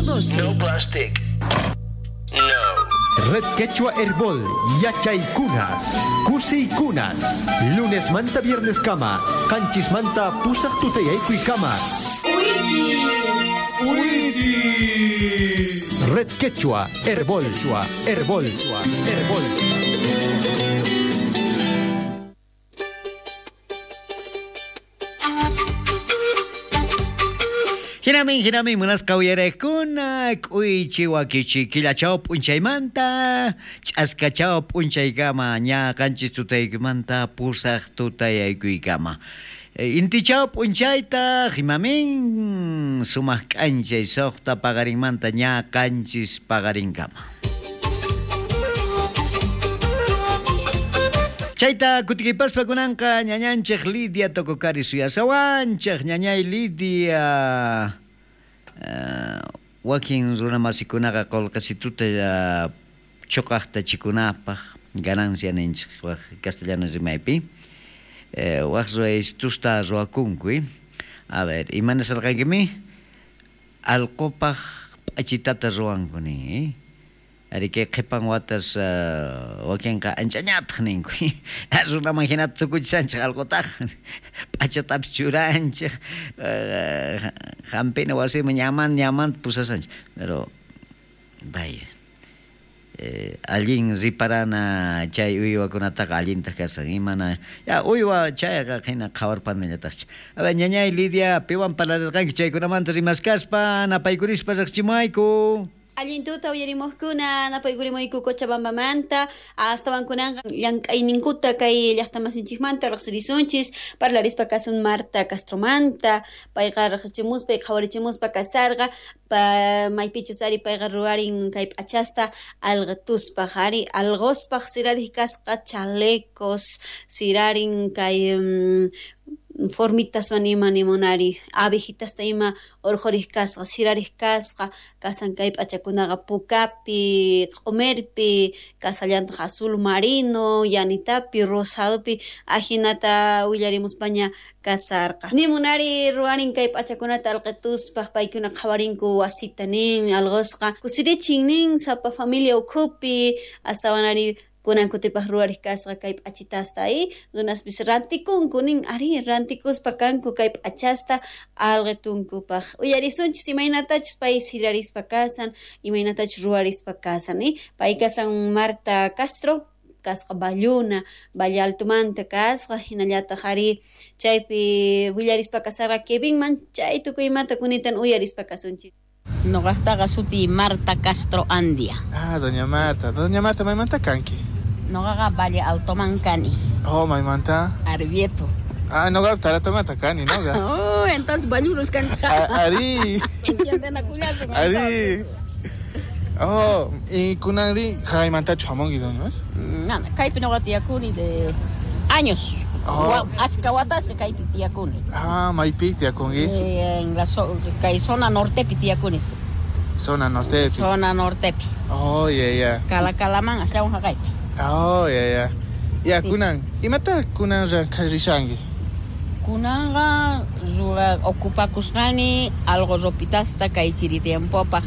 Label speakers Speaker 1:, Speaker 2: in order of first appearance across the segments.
Speaker 1: 12.
Speaker 2: No plastic. No.
Speaker 3: Red Quechua Herbol, Yachaykunas, Kusiykunas, lunes manta viernes kama, qanchis manta pusaq tutayaykuy kama. Red Quechua Herbol, Herbol, Herbol.
Speaker 4: Hinamin, hinamin, munasqa uyarekuna, k'uychi wakichi killachaw p'unchaymanta, ch'askachaw p'unchaykama, ña qanchis tutaykimanta pusaq tutayaykuykama. Intichaw p'unchayta, himamin, sumaq k'anchay suqta paqarinmanta ña qanchis paqarinkama. Chayta kutikipaspa kunanqa ñañanchik Lidia Tococari suyasawanchik, ñañay Lidia. Wakin runamasikunaqa qullqisituta chuqaqta chikunapaq ganancia ninchik wak castellano rimaypi. Wak ruwaystusta ruwakunku. A ver, imanasarqankimi? Allqupaq p'achitata ruwanku nin. Ari kay qhipan watas wakinqa anchañataq ninku. Runaman hinata tukuchisanchik allqutaq. P'achatapis churanchik. Hampina wasiman ñaman ñamanta pusasanchik. Pero vaya. Allin riparana chay uywakunataqa allintaq kasan imana ya uywa chayqa hina qhawarpanallataqcha. A ver, ñañay Lidia, piwan parlarirqanki chaykunamanta rimaskaspa napaykurispa riqchimuayku.
Speaker 5: Allintuta uyarimuqkuna napaykurimuyku Cochabambamanta astawan kunanqa llank'ayninkuta kay llaqtamasinchikmanta riqsirisunchis parlarispa kasun Marta Castromanta payqa riqsichimuspa qhawarichimuspa kasarqa maypichus ari payqa ruwarin kay p'achasta alqituspaq ari alqospaq sirariq kasqa chalecos sirarin kay formitas ima nimunari abejitasta ima urqhuriq kasqa sirariq kasqa kasan kay p'achakunaqa pukapi q'umirpi kasallantaq azul marino yanitapi rosadopi ajinata willarimuspaña kasarqa nimunari ruwarin kay p'achakunata alqituspaq paykuna qhawarinku wasita nin alqosqa kusirichin nin sapa familia ukhupi astawanari kunan kutipaq ruwariq kasqa kay p'achitasta y runaspis rantikunku nin ari rantikuspa kanku kay p'achasta alqitunkupaq uyarisunchis imaynatachus pay sirarispa kasan imaynatachus ruwarispa kasan pay kasan Marta Castro kasqa Valluna Valle Altomanta kasqa hinallataq ari chaypi willarispa kasarqa Kevinman chay tukuymanta kunitan uyarispa kasunchis.
Speaker 6: Noqaqtaqa suti Marta Castro Andia.
Speaker 7: Ah, doña Marta. Doña Marta, maymanta kanki?
Speaker 6: Noqaqa Valle Altoman kani.
Speaker 7: Oh, maymanta?
Speaker 6: Arbieto.
Speaker 7: Ah, noqa Taratomanta kani, noqa.
Speaker 6: Oh, entonces ballurus kanchika.
Speaker 7: Ari. Ari. Oh, y kunanri jaymantachu hamunki, doña?
Speaker 6: Mana, kaypi noqa tiyakuni de años.
Speaker 7: Oh.
Speaker 6: Ashka watasqa kaypi tiyakuni.
Speaker 7: Ah, maypi tiyakunki?
Speaker 6: En la kay zona nortepi tiyakuni.
Speaker 7: Zona nortepi.
Speaker 6: Zona nortepi.
Speaker 7: Oh, yeah, yeah.
Speaker 6: Kalakalaman astawan haqaypi.
Speaker 7: Oh, yeah, yeah. Ya,
Speaker 6: sí.
Speaker 7: Kunan, imata kunan rishanki?
Speaker 6: Kunanqa ocupakusqani algo ropitasta kay chiri tiempopaq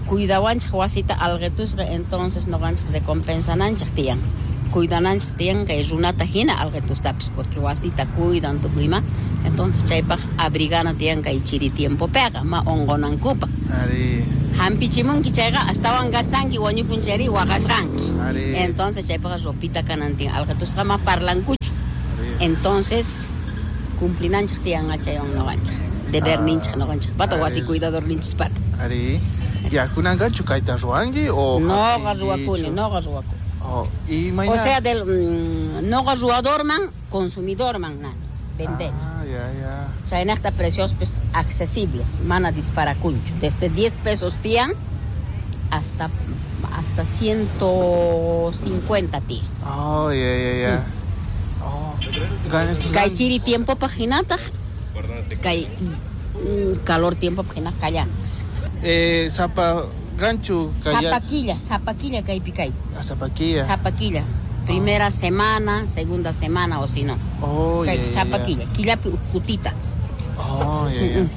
Speaker 6: cuidawanchik wasita alqitusqa entonces noqanchik recompensananchik tiyan. Cuidananchik tiyan kay runata hina alqitustapis porque wasita cuidan tukuyma entonces chaypaq abrigana tiyan kay chiri tiempopiqa ma unqunankupaq.
Speaker 7: Ari.
Speaker 6: Hampichimunki chayqa astawan gastanki wañupun chayri waqasqanki.
Speaker 7: Ari.
Speaker 6: Entonces chaypaq ropita kanan tiyan alqitusqa ma parlankuchu.
Speaker 7: Ari.
Speaker 6: Entonces cumplinanchik tiyan chaywan noqanchik deberninchik noqanchik pata wasi cuidadorninchispata.
Speaker 7: Ari. Ya kunanqachu kayta ruwanki o
Speaker 6: noqa ruwakuni, noqa ruwakuni.
Speaker 7: Oh, y mañana.
Speaker 6: O sea, del noqa ruwadorman, consumidorman nani, vender.
Speaker 7: Ah, ya, ya.
Speaker 6: Chaynaqta precios pues accesibles, mana disparakunchu. Desde 10 pesos tiyan hasta 150 tiyan.
Speaker 7: Oh, ya, ya, ya.
Speaker 6: Sí.
Speaker 7: Oh.
Speaker 6: Kay chiri tiempo pajinataq, kay calor tiempo pajinataq kallan.
Speaker 7: Zapa ganchu kaya.
Speaker 6: Zapaquilla kaypi kay.
Speaker 7: Ah, Zapaquilla.
Speaker 6: Zapaquilla. Primera semana, segunda semana o si no.
Speaker 7: Oh,
Speaker 6: kay,
Speaker 7: yeah,
Speaker 6: Zapaquilla,
Speaker 7: yeah.
Speaker 6: Killapi ukutita.
Speaker 7: Oh, yeah, yeah.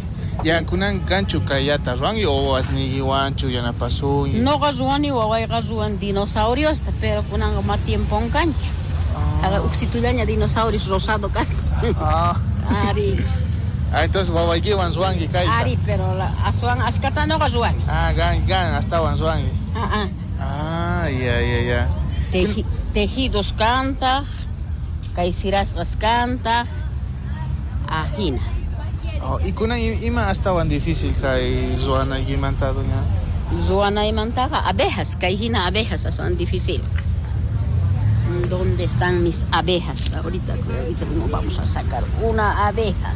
Speaker 7: Ya kunan kanchu kayata ruwanki o wasniykiwanchu yanapasunki?
Speaker 6: Noqa ruwani wawayqa ruwan dinosauriosta, pero kunanqa ma tiempon kanchu. Ah. Uksitullaña dinosaurios rosado kasqa.
Speaker 7: Ah.
Speaker 6: Ari.
Speaker 7: Ah, entonces wawaykiwan ruwanki kayta.
Speaker 6: Ari, pero aswan ashkata noqa ruwani.
Speaker 7: Ah, gan gan astawan ruwanki.
Speaker 6: Ah, ah.
Speaker 7: Ah, ya ya ya.
Speaker 6: Tejidos kantaq, kay sirasqas kantaq, ajina.
Speaker 7: Oh, y kunan ima astawan difícil kay ruwanaykimanta, doña?
Speaker 6: Ruwanaymantaqa abejas, kay hina abejas aswan difícil. ¿Dónde están mis abejas? Ahorita, ahorita mismo vamos a sacar una abeja.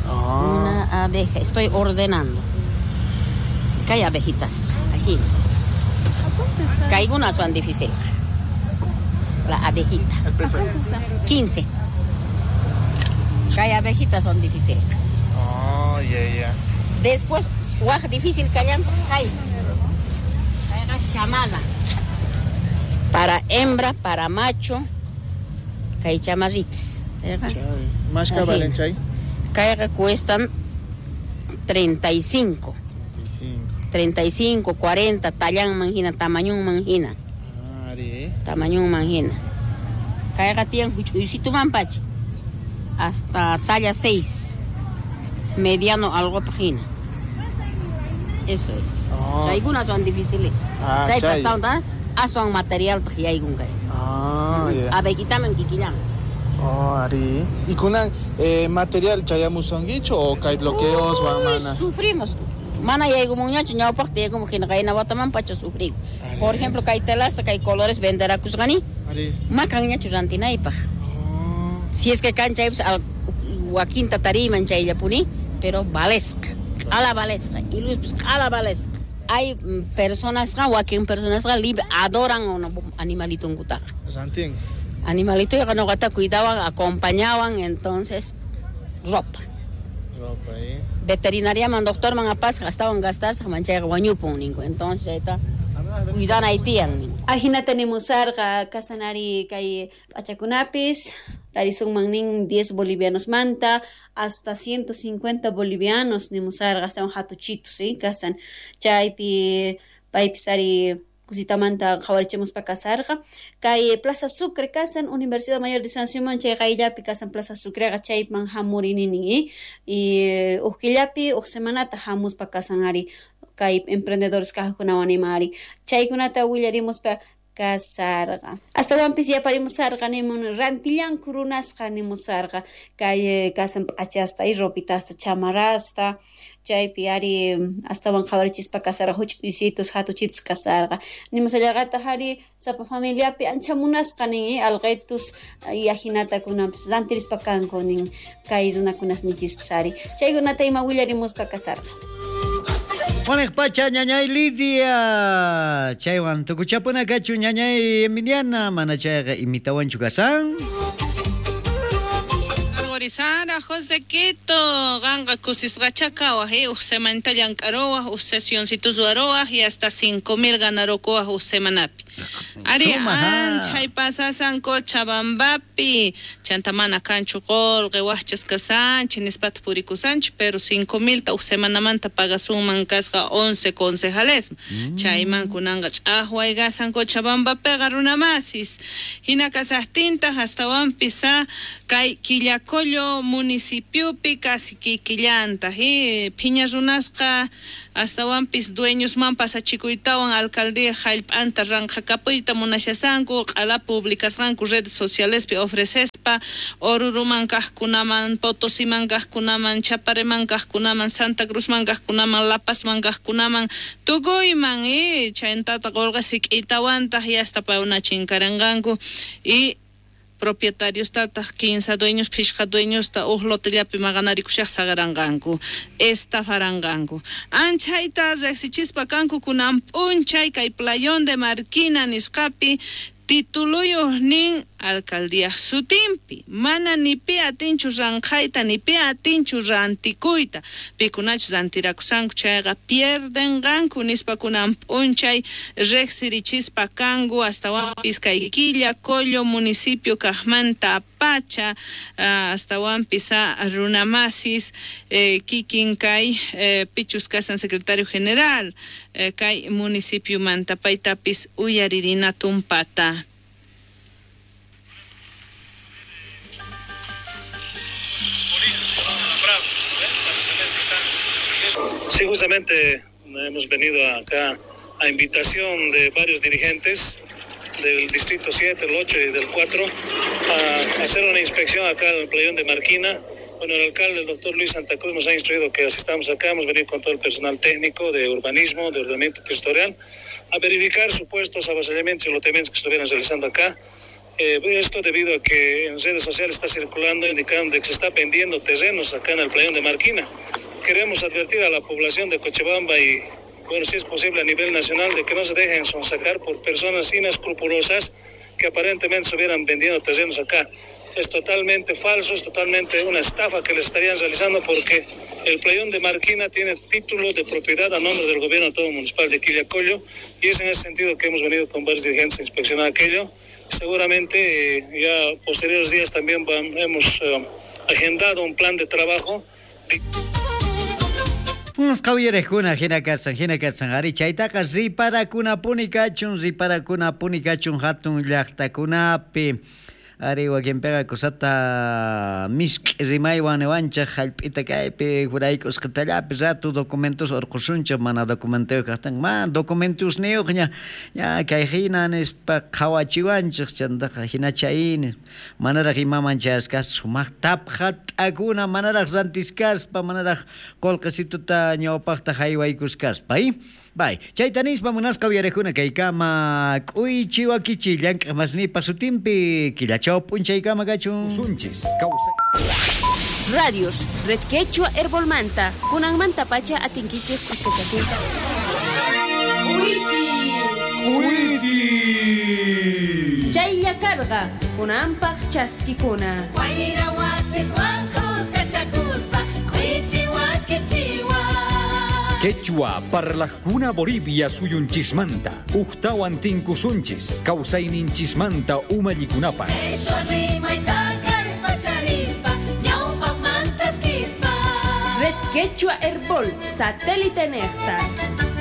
Speaker 7: Ah.
Speaker 6: Una abeja. Estoy ordenando. Kay abejitas. Aquí. Kaykuna son difícil. La abejita.
Speaker 7: El precio.
Speaker 6: 15. Kay abejitas son difícil.
Speaker 7: Oh, ya, ya.
Speaker 6: Después, waj difícil kallan kay. Kayqa chamala. Para hembra, para macho, kay chamarritas.
Speaker 7: Chay. Mashka valen chay?
Speaker 6: Kayqa cuestan 35.
Speaker 7: 35.
Speaker 6: 35, 40, tallanman hina, tamañunman hina.
Speaker 7: Ari.
Speaker 6: Tamañunman hina. Kayqa tiyan huch'uysituman pacha. Hasta talla 6. Mediano algo hina. Eso es.
Speaker 7: Oh.
Speaker 6: Chaykunas son difíciles.
Speaker 7: Ah,
Speaker 6: Chay
Speaker 7: chay.
Speaker 6: pastawan aswan material yaykun kay.
Speaker 7: Ah, ya.
Speaker 6: Abejitaman kikillan.
Speaker 7: Oh, ari. Y kunan material chayamusunkichu o kay bloqueos wan mana?
Speaker 6: Sufrimos. Mana yaykumunñachu ñawpaqta yaykumuq hina qayna wataman pacha sufriku. Por ejemplo, kay telasta, kay colores venderakusqani.
Speaker 7: Ari.
Speaker 6: Ma kanñachu rantinaypaq.
Speaker 7: Oh.
Speaker 6: Si es que kan chaypis wakinta tariyman chayllapuni, pero valesqa. Q'ala valesqa. Iluspis q'ala valesqa. Hay personasqa, wakin personasqa libre adoran animalitunkutaqa.
Speaker 7: Rantin.
Speaker 6: Animalitoyqa noqata cuidawan, acompañawan, entonces ropa.
Speaker 7: Ropa,
Speaker 6: Veterinariaman, doctorman apasqa, astawan gastasqa, manchayqa wañupun ninku. Entonces chayta cuidanay tiyan ninku.
Speaker 5: Ajinata nimusarqa kasanari kay p'achakunapis tarisunman nin 10 bolivianos manta hasta 150 bolivianos nimusarqa astawan hatuchitos, ¿sí? Kasan chaypi paypis ari kusitamanta qhawarichimuspa kasarqa. Kay Plaza Sucre kasan Universidad Mayor de San Simón chay qayllapi kasan Plaza Sucreqa chayman hamurini nin, y uj killapi uj semanata hamuspa kasan ari kay emprendedores kajkunawan ima ari chaykunata willarimuspa kasarqa. Astawanpis yaparimusarqa nimun rantillanku runasqa nimusarqa kay kasan p'achasta y ropitasta chamarrasta chaypi ari astawan qhawarichispa kasarqa huch'uysitus hatuchitus kasarqa nimusallarqataq ari sapa familiapi ancha munasqa nin alqitus y ajinata kunanpis rantirispa kanku nin kay runakunas nichispas ari chaykunata ima willarimuspa kasarqa.
Speaker 4: Juanek pacha ñañay Lidia chaywan tukuchapuna kachu ñañay Emiliana mana chayqa imitawanchu kasan.
Speaker 1: Sara, José Quito, ganga kusisqacha kawaj, uj semanita llank'arowaj, uj sesioncitos ruwarowaj y hasta 5,000 ganarokowaj uj semanapi. Ari anchay pasasan Cochabambapi, chanta mana kanchu qolqe wajchas kasanchik nispata purikusanchik, pero 5,000 ta uj semanamanta pagasunman kasqa 11 concejales. Chayman kunanqa ch'aqway kasan Cochabambapiqa runamasis. Hina kasaqtintaq astawanpis kay Quillacollo municipiopi casi kikillanta, phiña runasqa astawanpis dueñosman pasachikuytawan alcaldía jallp'anta ranqhakapuyta munashasanku q'ala publicasqanku redes socialespi ofrecespa Oruruman kaqkunaman, Potosiman kaqkunaman, Chapareman kaqkunaman, Santa Cruzman kaqkunaman, La Pazman kaqkunaman, tukuyman chayntata qolqa sik'itawantaq y hasta paykuna chinkaranqanku y propietarios tataq 15 dueños, phishqa dueñosta uj lotellapi maqanarikushaq saqaranqanku, estafaranqanku. Anchayta riqsichispa kanku kunan p'unchay kay Playón de Marquina nisqapi tituluyuq nin Alcaldíaj sutinpi mana ni pi atinchu ranqhayta ni pi atinchu rantikuyta pikunachus rantirakusanku chayqa pierdenqanku nispa kunan p'unchay riqsirichispa kanku astawanpis kay Quillacollo municipio kaqmanta pacha astawanpis runamasis kikin kay pichus kasan secretario general kay municipio manta paytapis uyaririna tumpata.
Speaker 2: Sí, justamente hemos venido acá a invitación de varios dirigentes del Distrito 7, el 8 y del 4, a hacer una inspección acá en el playón de Marquina. Bueno, el alcalde, el doctor Luis Santa Cruz, nos ha instruido que asistamos acá. Hemos venido con todo el personal técnico de urbanismo, de ordenamiento territorial, a verificar supuestos avasallamientos y loteamientos que estuvieran realizando acá. Esto debido a que en redes sociales está circulando indicando que se está vendiendo terrenos acá en el playón de Marquina. Queremos advertir a la población de Cochabamba y, bueno, si es posible a nivel nacional, de que no se dejen sonsacar por personas inescrupulosas que aparentemente estuvieran vendiendo terrenos acá. Es totalmente falso, es totalmente una estafa que les estarían realizando, porque el playón de Marquina tiene título de propiedad a nombre del gobierno autónomo municipal de Quillacollo, y es en ese sentido que hemos venido con varios dirigentes a inspeccionar aquello. Seguramente ya posteriores días también hemos agendado un plan de trabajo.
Speaker 4: Qawyarijkuna hina kasan ari chaytaqa riparakunapuni kachun hatun llaqtakunapi ari wakinpiqa kusata misk'i rimaywan niwanchik hallp'ita kaypi juraykusqitallapi rato documentos urqusunchik mana documentuyuq kaqtin mana documentosniyuq ña ña kay hina nispa qhawachiwanchik chantaqa hina chayni manaraq imaman chayasqas sumaq taphat'akuna manaraq rantiskaspa manaraq qullqisituta ñawpaqta haywaykuskaspa. Bay, chayta nispa munasqa uyarijkuna kaykama k'uychi wakichi llank'aq masnipa sutinpi killachaw p'unchaykama kachun.
Speaker 8: Usunchis kawsay.
Speaker 5: Radios, Red Quechua Herbolmanta, kunanmanta pacha atinkichik kuskachakuyta. K'uychi.
Speaker 8: K'uychi.
Speaker 5: Chaylla karqa, kunanpaq chaskikuna.
Speaker 9: Wayra wasiswan kuskachakuspa, k'uychi wakichiwa.
Speaker 8: Quechua parlajkuna Bolivia suyunchismanta, ujtawan tinkusunchis, kawsayninchismanta umallikunapaq.
Speaker 5: Red Quechua Herbol, satélite nefta.